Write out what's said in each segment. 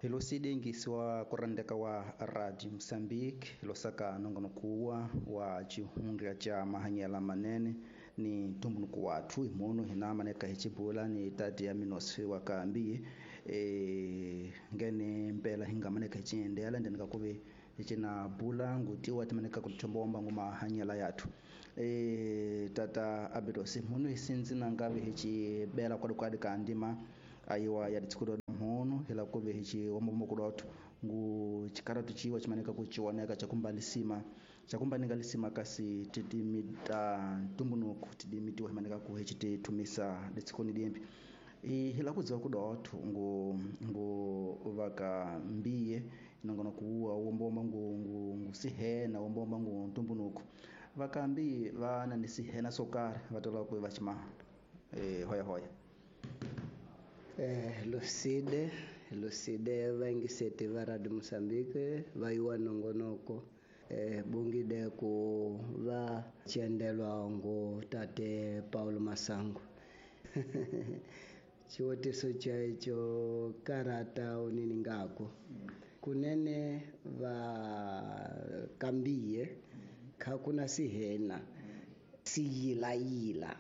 Hi loside ngisiwa kurandeka wa Radio Mozambique losaka nongonoko wa xihundla xa mahanyelo manene ni ntumbuluko wathu hi munhu hina maneka hi xibula ni tati ya minosi wa kambi ngene mpela hi nga maneka hi xiendela ndeni ka kuve hi cina bula ngutiwa timaneka ku thombomba ngu mahanyelo yathu tata Abidosi munhu hi sinzi na ngavi hi xibela kwalikwali ka ndima ayiwa ya ditshikulo mhono hila kuve hi xiwombomokuloto ngu xikaratu chiwa chimaneka ku chiwoneka chakumba lisima chakumbanika lisima kasi tidimi ta ntumbunuku tidimi tiwa himaneka ku hi chitithumisa ditshikoni dimbi hila kudziwa kudotho ngu ngu vaka mbiye nongono kuwa wombomba ngu ngu ngu sihena wombomba ngu ntumbunuku vakambi vana ni sihena swo karhi va tola ku va xima hoya hoya. Lucide vaingiseti va Radio Mozambique va yiwa nongonoko bongide ku va chendelwa ngo tate Paulo Masango. Xivutiso xexo karata unini ngako kunene va kambiye kha kuna sihena siyilayila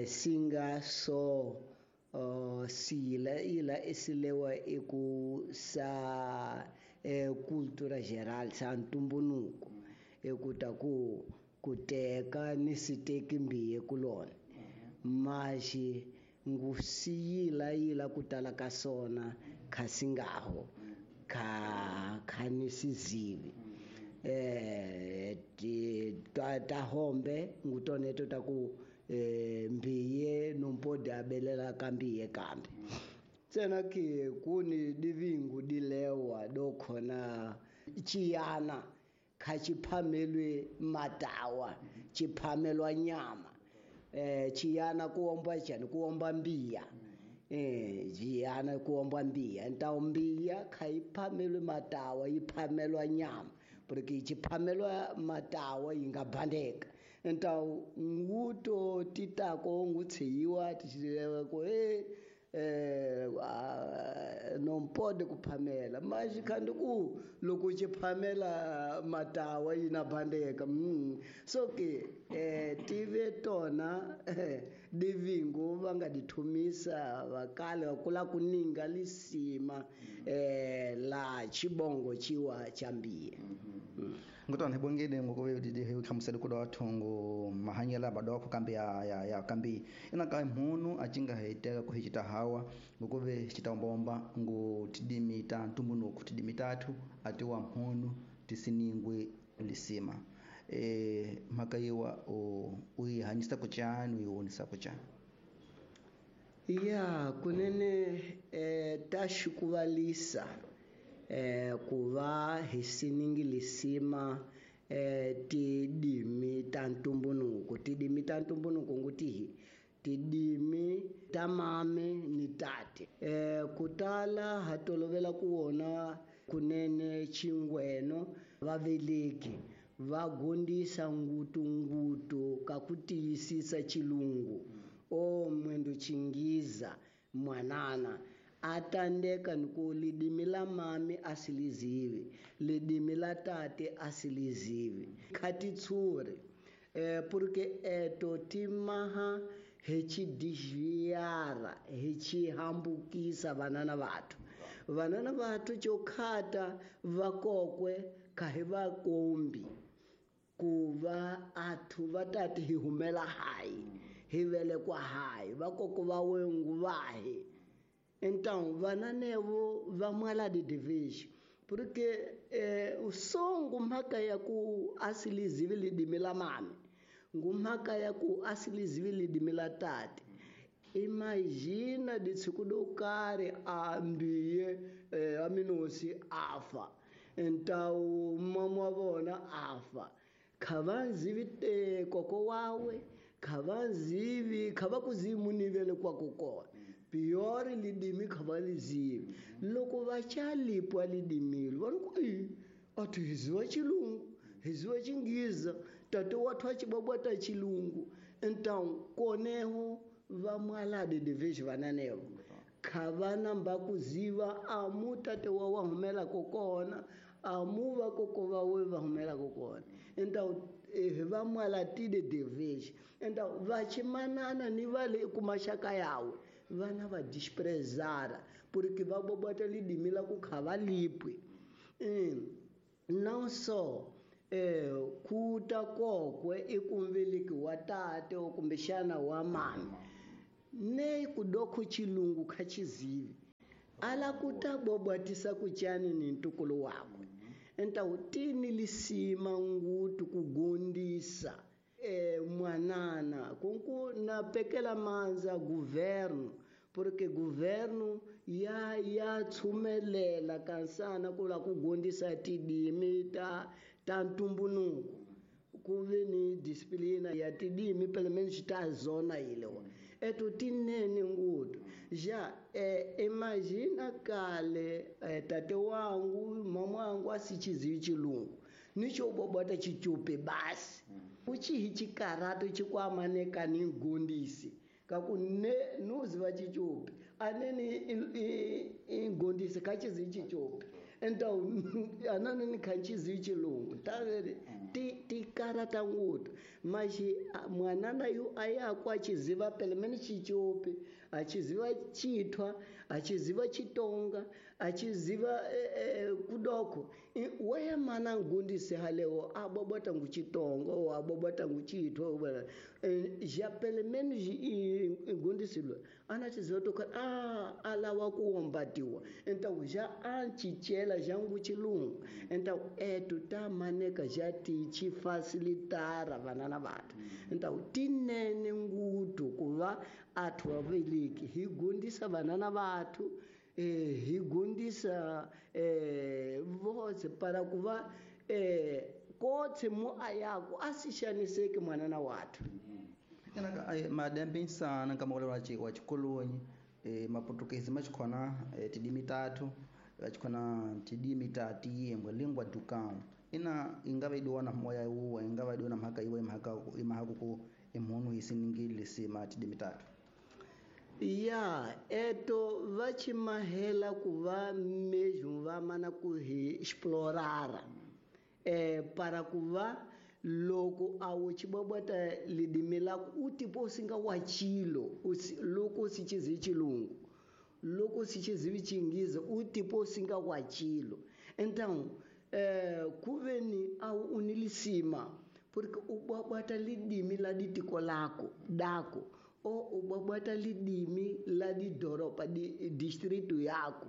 singa so siyila isilewa eku sa cultura geral sa ntumbunuko ekuta ku kuteka ni siteki mbiye kulona maxi ngusiyila yila kutala ka sona khasingaho kha khanisizivi ta hombe ngutoneto ta ku mbiye nompodi abelela kambiye kambe tsena ke kuni divingu dilewa dokhona chiyana kha chiphamelwe matawa chiphamelwa nyama chiyana kuomba chani kuomba mbiya chiyana kuomba mbiya ntawo mbiya kha iphamelwe matawa iphamelwa nyama porque chiphamelwa matawa ingabhandeka ntawo nguto titako ngutsiyiwa tichilewa ko não pode kuphamela mas kandi ku loko chiphamela matawa yina bandeka so ke tive tona divingo va nga dithumisa vakale va kula kuninga lisima la chibongo chiwa chambiye. Ngutona hibongile ngokuve hlamusela ku dotho ngo mahanyela badoko kambe ya kambi ina ka munhu a cinga hiteka ku hicita hawa ngokuve chitambomba ngo tidimita ntumbunuku tidimitatu atiwa mhunu tisiningwe lisima mhaka yiwa u yi hanyisa ku chani u yi wonisa ku chani. Ya kunene ta xikuvalisa ku va hi siningi lisima tidimi ta ntumbunuko tidimi ta ntumbunuko ngutihi tidimi ta mame ni tate kutala ha tolovela ku wona kunene chingweno vaveleki va gondisa ngutu ka ku tiyisisa chilungu o mwendo chingiza mwanana atandeka niku lidimi la mami asilizivi lidimi la tate asilizivi khatitsuri porque eto timaha hi chidizhiyara hi chihambukisa vanana vathu vanana vathu chokhata vakokwe kha hi vakombi ku va athu va tati hi humela hayi hi velekwa hayi vakoko va wengu vahi então vananevo va mwala didivision porque usongo mhaka ya ku asilizivi lidimi la mami ngumhaka ya ku asilizivi lidimi la tate imagina ditshiku do karhi a mbiye aminosi afa então mama wa vona afa kha va zivi koko wawe kha va zivi kha va ku zivi munivele kwako kona pior lidimi kha va lizivi loko va chalipwa lidimilo va ri ku athu hiziwa chilungu hiziwa chingiza tate wathu achibabwata chilungu então koneho va mwalade division vananevo Kha va namba ku ziva amu tate wa wa humelaka kona, amu va koko va we va humelaka kona. Então hi va mwalatile deveji. Então va chimanana ni va le ku maxaka yawe vana va desprezara porque va bobota lidimi la ku kha va lipwe. Não só kuta kokwe i kumveleki wa tate kumbexana wa mami ne kudokho chilungu kha chizivi ala kuta bobwatisa kuchani ni ntukulu wakwe. Então tini lisima ngutu kugondisa mwanana kunku na pekela manza governo porque governo ya tshumelela kansana kula kugondisa tidimi ta ntumbunuko ku ve ni disciplina ya tidimi pelo menos ta zona ilewa eto tinene ngutu já imagina kale tate wangu mama wangu asichizivi chilungu nicho bobota chichupe basi uchihi chikarato chikwamaneka ni ngondisi kaku ne nuziva chichupe aneni ingondisi kachizivi chichupe. Então anani khanchizivi chilungu tavere tikarata ngutu mas mwanana yu ayako achiziva pelo menos chichupe achiziva chithwa achiziva chitonga achiziva kudoko waya mana ngundise halewo abobota nguchitonga ou abobota nguchithwa já pelo menos ngundisilwe anachiziva toka alawa kuombatiwa. Então já anchichela já nguchilungu. Então etu ta maneka já ti facilitara vanana vathu. Então tinene ngutu kuva athu aveliki hi gundisa vanana vathu hi gundisa vose para kuva kotse mu ayako asixaniseki mwanana wathu. Madembe insana nkama wa chikolonyi maportuguese machikhona tidimi tatu vachikhona tidimi ta tiyembwe lingua do cão ina ingava idiwa na moya wuwa ingava idiwa na mhaka iwe mhaka imhaka ku imhunu hisiningile lisima tidimi tatu. Ya eto va chimahela ku va mesmo va mana ku hi explorara para ku va loko awu chibobota lidimi lako utipo singa wachilo loko sichizivi chilungu loko sichizivi chingiza utipo singa wachilo. Então kuveni awu unilisima porque ubabata lidimi la ditiko lako dako o ubabata lidimi la didoropa di distrito yako.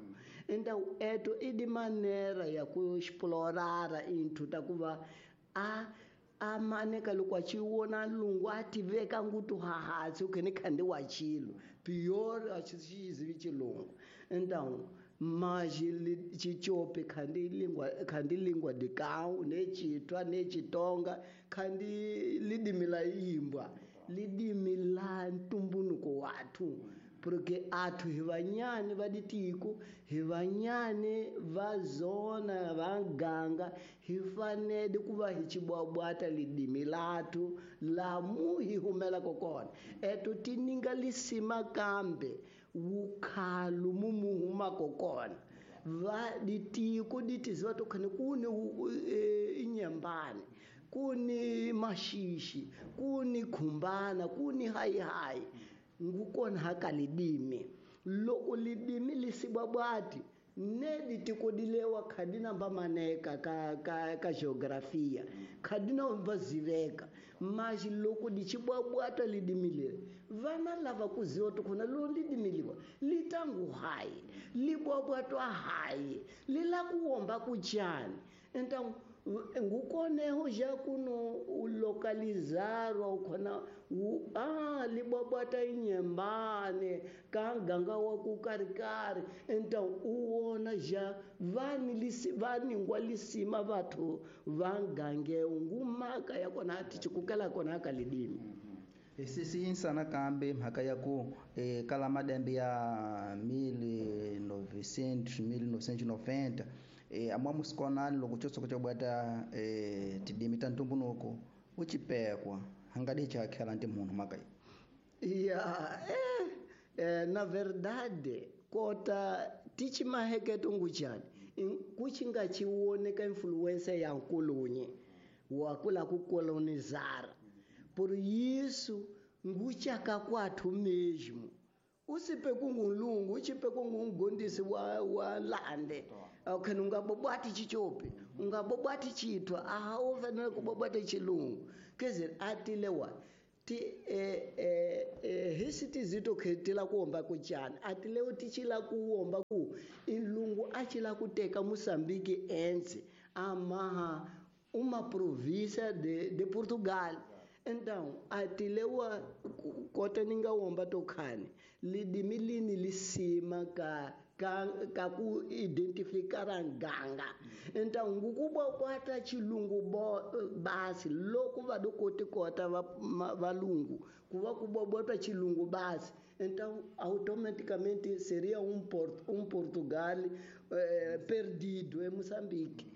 Então eto e de maneira ya ku explorar inthu ta kuva a amaneka loko a chiwona lungu a tiveka ngutu hahatsi ukhene khande wa chilo pior a xizivi chilungu. Então mas chichope khandi lingua de cão ne chitwa ne chitonga khandi lidimi la imbwa lidimi la ntumbunuko wathu porque athu hi vanyani va ditiko hi vanyani va zona va ganga hi fanele ku va hi chibwabwata lidimi lathu lamu hi humelaka kona. Eto tininga lisima kambe wukhalu mumuhumaka kona va ditiko ditiziva to khane kuni inyembane kuni mashishi kuni khumbana kuni hayihayi ngukona haka lidimi loko lidimi lisibwabwati ne ditiko dilewa khadina mba maneka ka geografia khadina mba ziveka mas loko dichibwabwata lidimi lele vana lava kuziwa tokhona lo lidimi liwa litangu hayi libwabwatwa hayi lila kuwomba kuchani. Então ngukoneho já kuno ulocalizarwa ukhona libwabwata inyembane ka ganga wa ku karikari. Então uwona já vaningwa lisima vathu va ngangeo ngumaka ya kona ati chikukela kona ka lidimi. Sisi kambe mhaka ya ku kala madembe ya 1900 1990 amwamusikonani loko chotsoko chobwata tidimi ta ntumbunuko uchipekwa hangadi chakhela nti munhu mhaka yi. Ya na verdade Kota tichimaheketo nguchani kuchinga chiwoneka influência ya nkulunye wakula kucolonizar. Por isso nguchaka kwathu mesmo. Usipe kungulungu uchipe kungungondisi wa lande. Okay, ungabobwati chichope, ungabobwati chitwa, aha ufanele kubobwata chilungu. Quer dizer, atilewa ti hisi tizito khetela kuomba kuchana atileo tichila kuomba ku ilungu achila kuteka Moçambique ense amaha uma província de Portugal. Então atilewa kota ninga omba tokhani lidimi lini lisima ka ku identificar nganga. Então ngukubwata chilungu basi loko vadokoti kota valungu kuva kubwata chilungu basi. Então automaticamente seria Portugal perdido em Moçambique.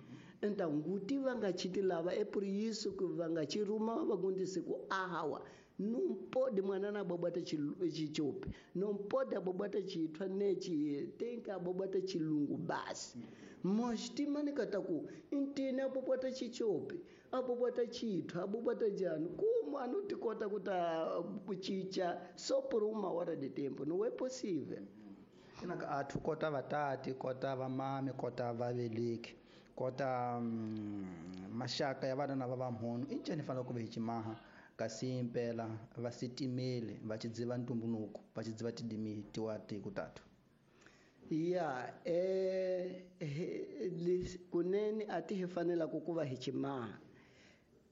Então nguti vangachiti lava é por isso que vangachiruma vagundise ku ahawa. Não pode mwanana bobata chichope, não pode bobata chitwa nechi, tem que bobata chilungu basi. Mas timanika taku intina bobata chichope, abobata chitwa, abobata jano, como anutikota kuta chicha só por uma hora de tempo, não é possível. Inaka athu kota vatati, kota vamami, kota vaveleki, kota mashaka ya vana na vavamhono, inchani fanele ku vehichimaha. Kasi impela vasitimele vachidziva ntumbunuko vachidziva tidimi tiwati kutatu. Ya kunene ati hi fanela kukuva hi chimaha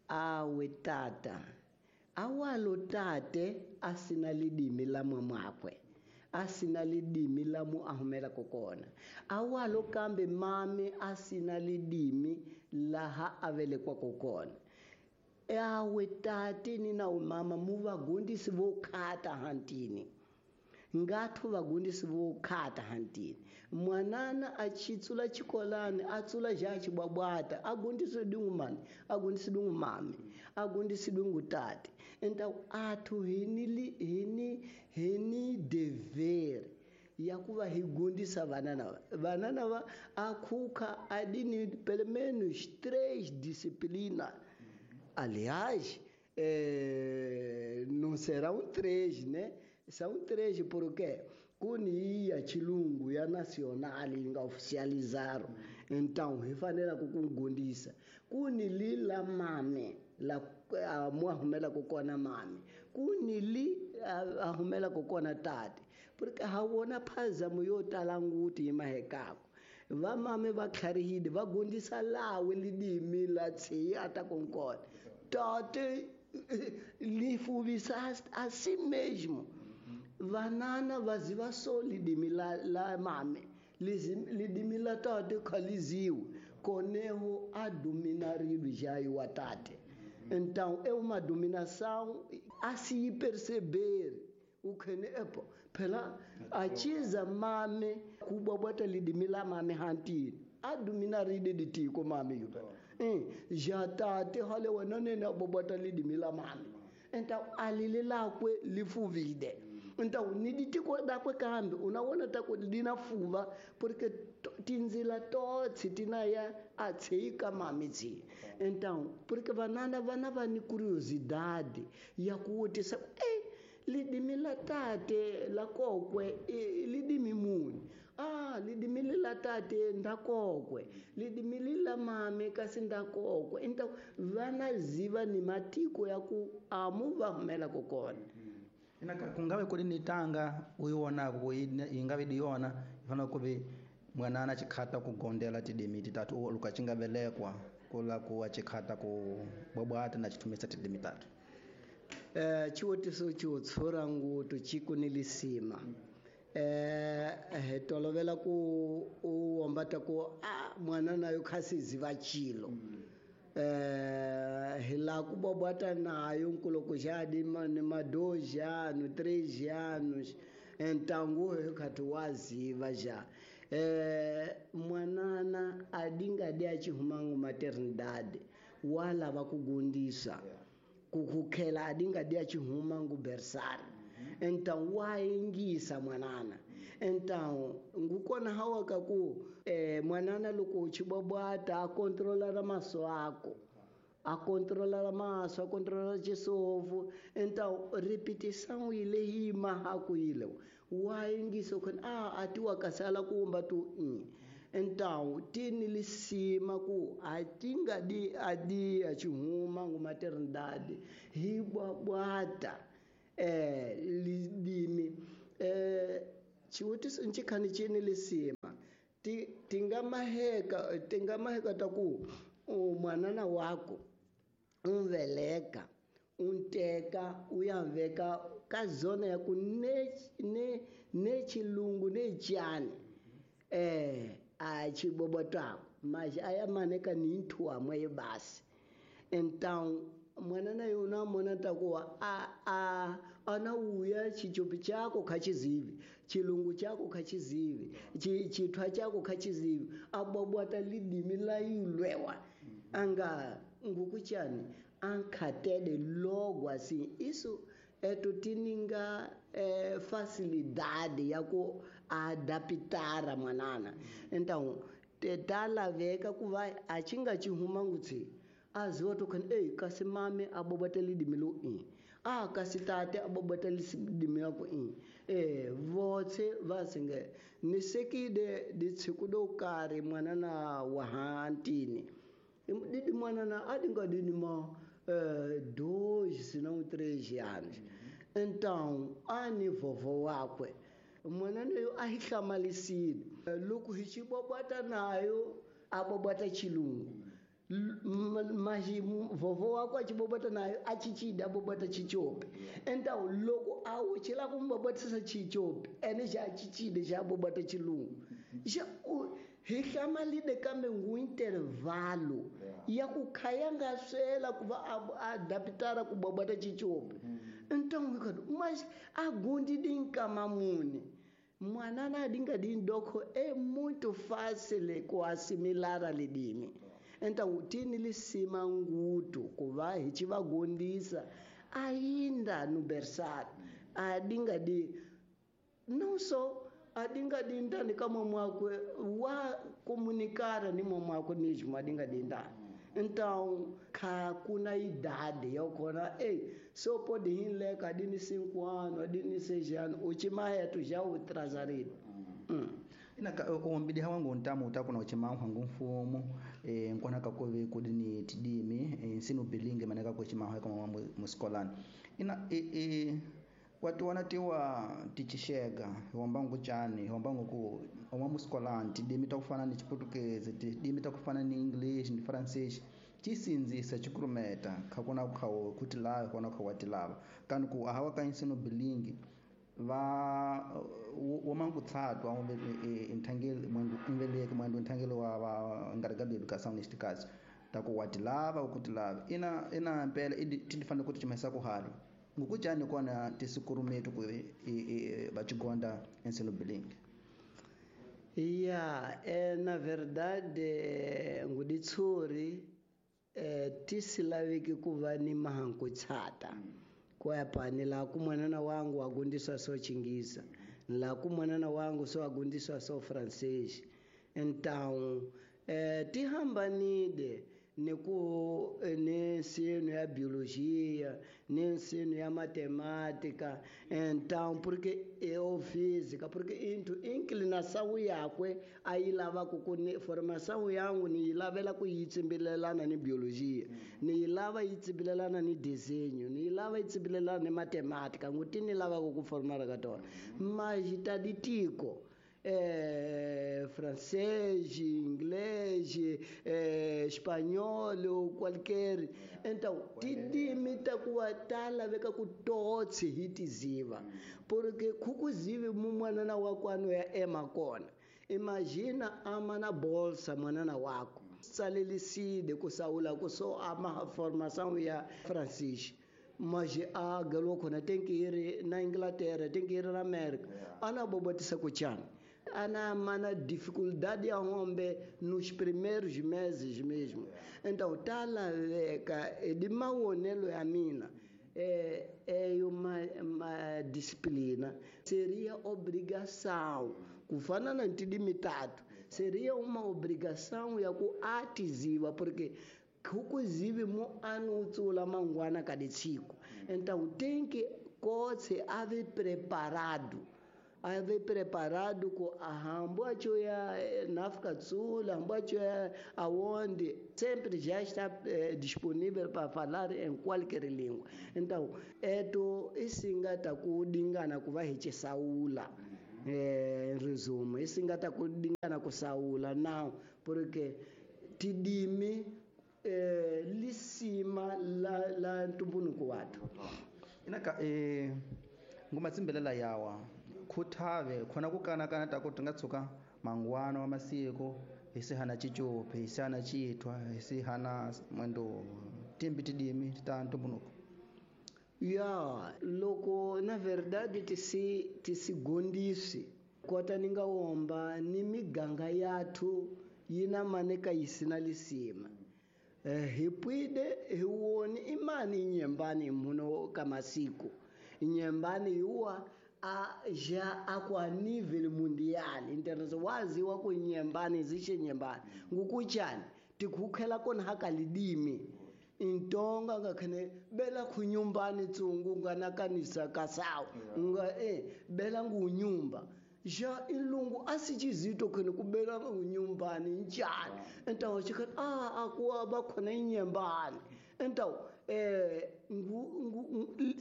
awe tata awalo tate asina lidimi la mwamwakwe asina lidimi la mu ahumela kokona awalo kambe mame asina lidimi laha avelekwa kokona. Awe tate ni na umama muvagundisi vokhata hantini ngathu vagundisi vokhata hantini mwanana achitsula chikolani atsula ja chibwabwata agundisi dungu mani agundisi dungu mami agundisi dungu tate. Então athu hini dever ya kuva higundisa vanana vanana va akhuka adini pelo menos 3 disciplinas. Aliás, não serão 3, né? São 3 porque kuni ya chilungu ya nacional inga oficializaram. Então, rifanela kukungundisa. Kuni li la mame, la muahumela kukona mame. Kuni li ahumela kukona tate. Porque hawona phazamo yo talanguti imahekako. Vamame va tlharihile va gundisa lawe lidimi la tsiya ata konkona tate li fuvisa assim mesmo. Vanana vaziva so lidimi la mame lidimi la tate khaliziwe koneho a dominarido já o tate. Então é uma dominação a se perceber o que epo phela achiza mame kubwabwata lidimi la mame hantini adominaride ditiko mame yuba ja tate hale wena nene abwabwata lidimi la mame. Então alile lakwe lifuvide. Então ni ditiko dakwe kambe unawona tako linafuva porque tinzila totsi tinaya atsika mame tsi. Então porque vanana vana vani curiosidade ya kuti sa lidimi la tate la kokwe lidimi muni lidimi la tate ndakokwe lidimi la mame kasi ndakokwe. Então vana ziva ni matiko ya ku amu va humela kokona. Inaka kungawe kuli ni tanga uyiwona ku ingawe diona ifana kuve mwanana chikhata kugondela tidimi titatu lukachingavelekwa kula kuwa chikhata ku bwabwata na chitumisa tidimi tatu. Chiwotiso chiwotsora ngutu chikunilisima. Tolovela ku uombata ku mwana nayo khasizi vachilo. Hila kubwabwata nayo nkuloko jadi ni ma2 anos 3 anos. Então nguwe khati waziva ja. Mwanana adingade achihumangu maternidade wala vakugundisa. Kukhela adingade achihumangu bersari. Então waingisa mwanana. Então ngukona hawa ka ku mwanana loko chibwabwata a controlar maso ako, a controlar maso, a controlar chisovu. Então repetição ile hima hakuile waingiso khona a atiwa kasala kumba tu Então tini lisima ku atinga di adi achihuma ngu maternidade hibwabwata lidimi chiwutiso nchikhani chini lisima tingamaheka taku mwanana wako umveleka unteka uyaveka ka zona ya ku ne chilungu ne chani achibobotako mas ayamaneka ni nthu amwe basi. Então mwanana yona mona takuwa a ana uya chichopi chako khachizivi, chilungu chako khachizivi, chithwa chako khachizivi, abwabwata lidimi la ilwewa anga ngukuchani ankhatele logo assim. Isso é tininga facilidade ya ku adaptara mwanana. Então talaveka kuva achinga chihuma ngutsi aziwa to khani ei kasi mame abobata lidimi lo i a kasi tate abobata lidimi la ku i votse va singe ni sekide ditshiku do karhi mwanana wa hantini didi mwanana adinga dini ma 2 senão 3 anos. Então ani vovó wakwe mwanana yo a hi hlamalisile loko hi xibobata nayo abobata chilungu mas vovó wako achibobata nayo achichida abobata chichope. Então loko awuchila kumbobatisa chichope ene xa achichide xa abobata chilungu xa hi hlamalile kambe ngu intervalo ya ku khaya nga swela ku va adaptara ku bobata chichope. Então mas agundi dinkama muni mwanana adinga dindoko é muito fácil ku assimilar lidimi. Então tini lisima ngutu kuva hi chivagondisa ainda no berçário adinga di não só adinga dindani kama mwakwe wa comunicar ni mwakwe mesmo adinga dindani. Então ka kuna idade yokona ei só pode hinleka adini 5 anos adini 6 anos uchimahetu já o trazarido. Ina ombidi hawangu ntamu utakuna uchimahu hangu mfumo nkwana kakove kudini tidimi nsino bilinge maneka kuchimahu kama muskolani ina watu wanatiwa tichishega hombangu chani hombangu ku omwa muskolani tidimi takufana ni Chiputukezi tidimi takufana ni English ni Francês chisinzisa chikurumeta khakuna khawo kuti lawa kona khawati lava kanu ku ahawa ka nsino bilingi va womangutsatwa inthangeli mwendu inveleke mwendu inthangeli wa va encarregado de educação neste caso taku watilava ukutilava ina mpela tindifana kuti chimesa kuhali ngukujani kona tisikurumetu ku vachigonda ensino bilingue. Ya na verdade nguditsuri tisilaveki ku va ni mahankutshata kwapa ni la ku mwanana wangu agundiswa so Chingisa, la ku mwanana wangu so agundiswa so Francês. Então tihambanide ni ku ni ensino ya biologia, ni ensino ya matemática, então porque eu física, porque into inclinação yakwe ayilava ku ni formação yangu ni yilavela ku yitsimbilelana ni biologia, ni yilava yitsimbilelana ni desenho, ni yilava yitsimbilelana ni matemática, nguti ni lava ku formar ka tona. Mas ta ditiko francês, inglês, espanhol ou qualquer. Então, tidimi takuwa talaveka ku totsi hitiziva. Porque kukuzive mumwanana wako ano ya ema kona. Imagina ama na bolsa mwanana wako. Saleliside kusaula kuso ama formação ya francês. Mas a galo kona tem que ir na Inglaterra, tem que ir na América. Ana bobatisa kuchana. Ana mana dificuldade a homem nos primeiros meses mesmo. Então, talaveka de maonelo ya mina. É uma disciplina, seria obrigação, kufana na ntidimi tatu, seria uma obrigação ya ku atiziwa, porque kukuzivi mu anutsula mangwana kaditsiko. Então tem que kotse ave preparado. Ave preparado com a hambo ya na África do Sul, hambo ya aonde sempre já está disponível para falar em qualquer língua. Então, eto isingata kudingana kuva hichisaula. Em resumo, isingata kudingana kusaula não, porque tidimi lisima la ntumbunuko wathu. Inaka ngumatsimbelela yawa khuthave khona ku kanakana ta ku ti nga tshuka mangwana wa masiku hi sihana chichupi hi sihana chithwa hi sihana mwendo timbi tidimi ta ntumbunuko. Ya loko na verdade tisigondisi kota ni nga womba ni miganga yathu yi na maneka yi sina lisima. Hi pwide hi woni imani nyembani muno ka masiku nyembani yuwa a já akwa nível mundial international waziwa ku nyembani zishe nyembani ngukuchani tikukhela kona hakalidimi intonga ngakhene bela kunyumbani tsungu ngana kanisa kasawo nga bela ngunyumba já ilungu asichizito khene kubela ngunyumbani njani então chikhat akuwa bakhona inyembani então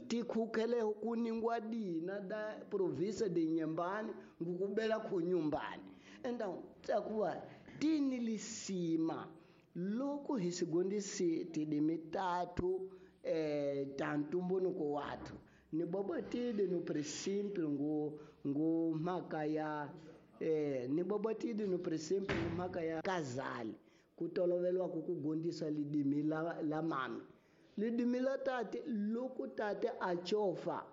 tikhukhele kuningwa dina da província de Inhambane ngukubela kunyumbani então takuwa tini lisima loko hi sigondisi tidimi tatu ta ntumbunuko wathu ni bobatide no princípio ngu mhaka ya ni bobatide no princípio ngu mhaka ya kazali kutolovelwa ku kugondisa lidimi la mami lidimi la tate loko tate a chofa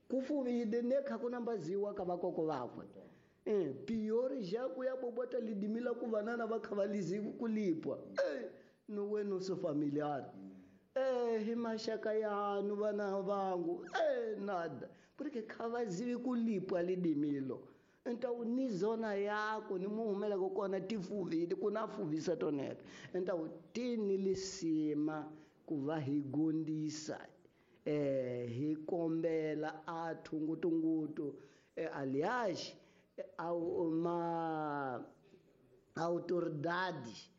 kufuvide nekha kunambaziwa ka vakoko vakwe piori já kuya bobota lidimi la ku vanana va kha va lizivi kulipwa no wena so familiar hi maxaka yanu vana vangu nada porque kha va zivi kulipwa lidimilo. Então ni zona yako ni muhumelako kona tifuvile ku na fuvisa toneka. Então tini lisima ku va hi gondisa hi kombela a thungutungutu aliás uma autoridade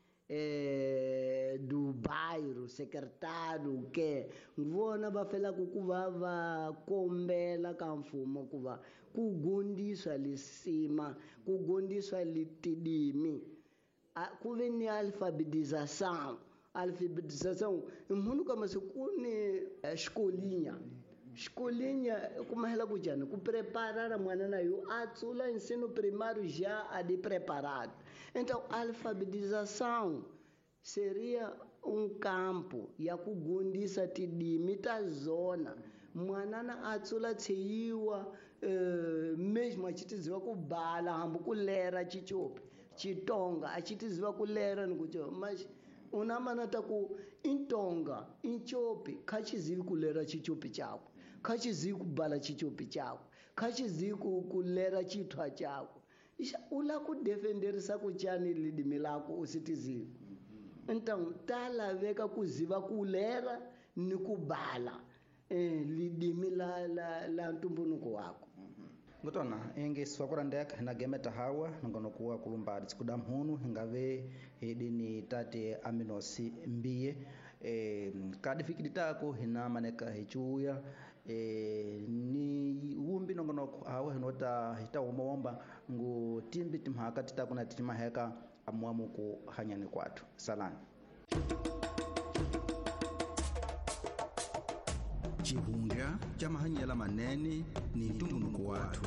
do bairro secretário que vona va felaka ku va va kombela ka mfumo ku va ku gondiswa lisima ku gondiswa litidimi ku ve ni alfabetização munhu ka masiku ni xikolinya xikolinya kumahela ku njhani ku preparara mwana na yo a tsula ensino primário já a de preparado. Então alfabetização seria campo ya ku gondisa tidimi ta zona mwanana a tsula tsheyiwa mesmo a tshi tiziva ku bala hambi ku lera chichopi chitonga a tshi tiziva ku lera ni ku mas una mana ta ku intonga inchopi kha tshi zivi ku lera chichopi chakwe kha tshi zivi ku bala chichopi chakwe kha tshi zivi ku lera chithwa chakwe u la ku defenderisa ku chani lidimi lako u si tizivi. Então ta laveka ku ziva ku lera ni ku bala lidimi la ntumbunuko wako. Ngutona inge swakurandeka na gemeta hawa ngonokuwa kulumba tsikuda mhunu hingave hidini tate aminosi mbiye kadi fikidi tako hina maneka hichuya ni wumbi nongonoko hawa hinota hita umomba ngu timbi timhaka titakuna timaheka amuamu ku hanyani kwathu salani. Chihundla cha mahanyela manene ni ntumbunuko wathu.